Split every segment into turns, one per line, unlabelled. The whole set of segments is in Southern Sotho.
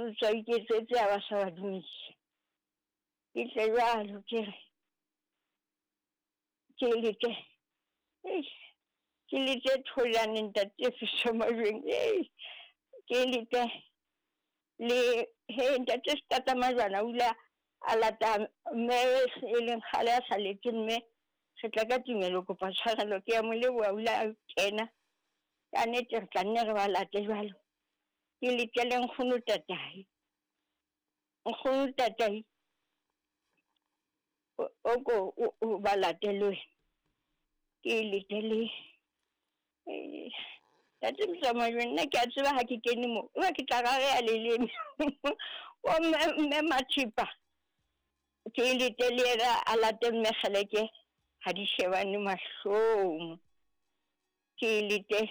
Putswa iketsetse a ba sa ba dumedisa. Ke tle jwalo ke re ke lete ke lete Thojane ntate Fiso Majweng ke lete le he ntate Setata Majwana o ile a lata mme e leng kgale a sa lete mme re tla ka tumelo kopa tshwarelo ke ya mo leboha o ile a kena ka nnete re tla nne re ba late jwalo. Ke letele nkgono tatai. Nkgono tatai o ko o ba late le wena. Ke letele Tate Motsamai nna ke a tseba ha ke kene mo eba ke tla rareha leleme. O mme Mathipa ke letele yena a late mme Kgeleke ha di shebane mahlong. Ke lete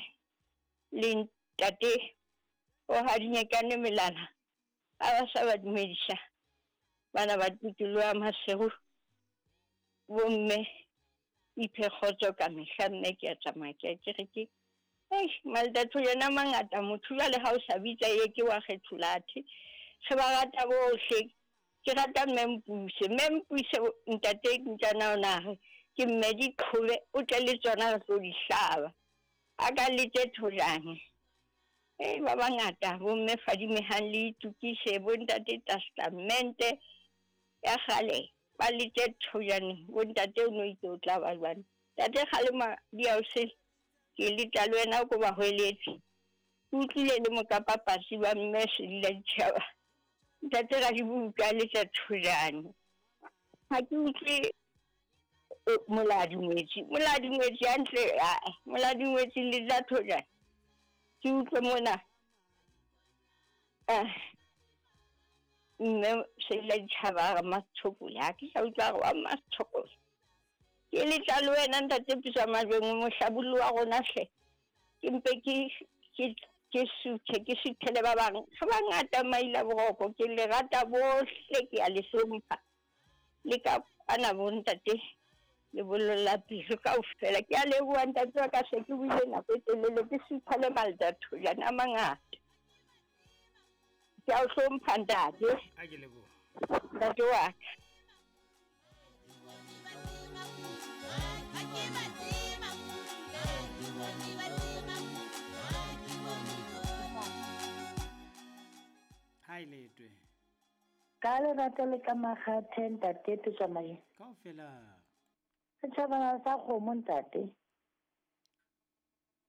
le ntate o hadinyekane melala a ba sa ba dumedisa bana ba tikoloho ya Maseru bomme iphe kgotso ka mehla mme ke a tsamaya ke a ke re ke Maltatho yena mangata motho jwale ha o sa bitsa ye ke wa kgetholathe re ba rata bohle. Ke rata mme Mpuse mme Mpuse ntate ntjana ona re ke mme diqhobe o tle le tsona re tlo di hlaba a ka lete Thojane. Ba bangata bomme fadimehang le itukise bo ntate testamente ya kgale ba lete Thojane bo ntate o no itse o tla ba jwang. Ntate kgalema di a o sele ke leta le wena ko ba hweletse. Ke utlwile le mokapapasi ba mme Sedila Ditjhaba. Ntate Radibuka le tsa Thojane. Ha ke utlwe Moladi Ngwetsi. Moladi Ngwetsi hantle, Moladi Ngwetsi le tsa Thojane. Ke utlwe mona. Mme Sedila Ditjhaba re Mmatshokole. Ha ke sa utlwa re wa Mmatshokole. Ke letla le wena ntate Pitso Majweng mohlabollo wa rona hle. Ke mpe ke suthe ke suthele ba bang. Re bangata maila boroko ke le rata bohle ke a le hlompha. Le ka ana bo ntate le bololla pelo kaofela. Ke a leboha ntate wa ka se ke buile nako e telele ke sutha le Maltatho jana mangata. Ke a o hlompha ntate.
A ke leboha.
Ntate wa ka.
Hai letwe.
Ka lerato le ka makgathe ntate Tsamai.
Kaofela.
Setjhabana sa kgomo ntate.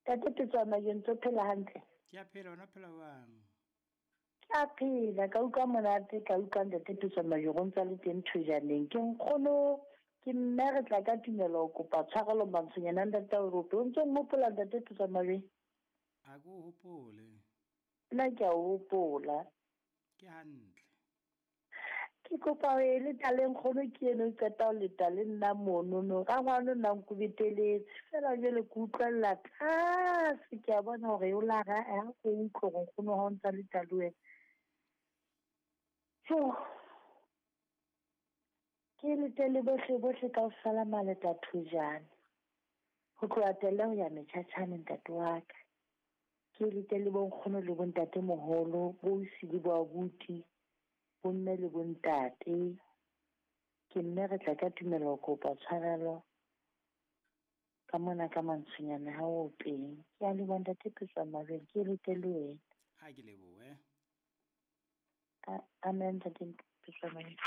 Ntate Tsamai ntse phela hantle.
Ke a phela ona phela jwang?
Ke a phela ka utlwa monate ka utlwa ntate Tsamai go ntsa le teng Thojaneng. Ke nkgono ke mme re tla ka tumelo kopa tshwarelo mantshonyana ntate o rope. O ntse o mmopola ntate Tsamai?
A ko hopole.
Nna ke a o hopola.
Ke hantle.
Ke kopa ho e leta le nkgono ke eno o qeta ho leta le nna monono. Rangwane nna nkubeteletse. Feela jwale ke utlwella tlase ke a bona hore o la ra ha ko utlwe hore nkgono ha o ntsa leta le wena. So ke lete le bohle bohle kaofela Maleta Thojane. Ho tloha tele ho ya metjhatjhane ntate wa ka. Ke lete le bonkgono le bontate moholo, bo ausi le bo abuti, bomme le bontate. Ke mme re tla ka tumelo kopa tshwarelo ka mona ka mantshonyana ha o peng. Ke a leboha ntate Pitso Majweng, ke lete le wena.
Ha ke lebohe.
Amen ntate Pitso Majweng.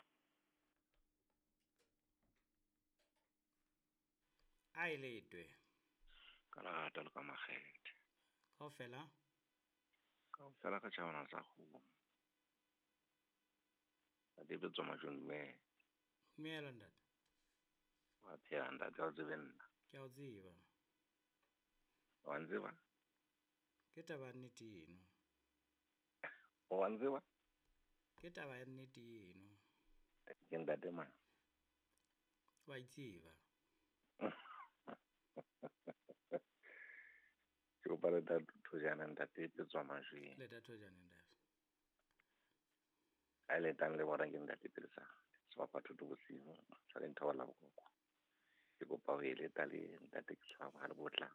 A e letwe.
Ka lerato le ka makgethe.
Kaofela?
Kaofela ka tjhabana sa kgomo. Ntate Pitso Majweng dumela.
Dumela ntate.
Wa phela ntate, ha o tsebe nna.
Ke a o tseba.
Wa ntseba?
Ke taba ya nnete eno.
Wa ntseba?
Ke taba ya nnete eno.
Ke ntate mang?
Wa itseba.
Ke kopa leta Thojane ntate Pitso Majweng.
Leta Thojane ntate.
A letang le bona ke ntate Pelesa. Sebapathoto bosiu sa le nthola bokoko. Ke kopa ho e leta le ntate ke tshwara ha le botla.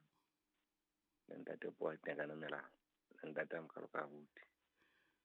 Le ntate Poa Tekano Melao. Le ntate Mokgalo ka abuti.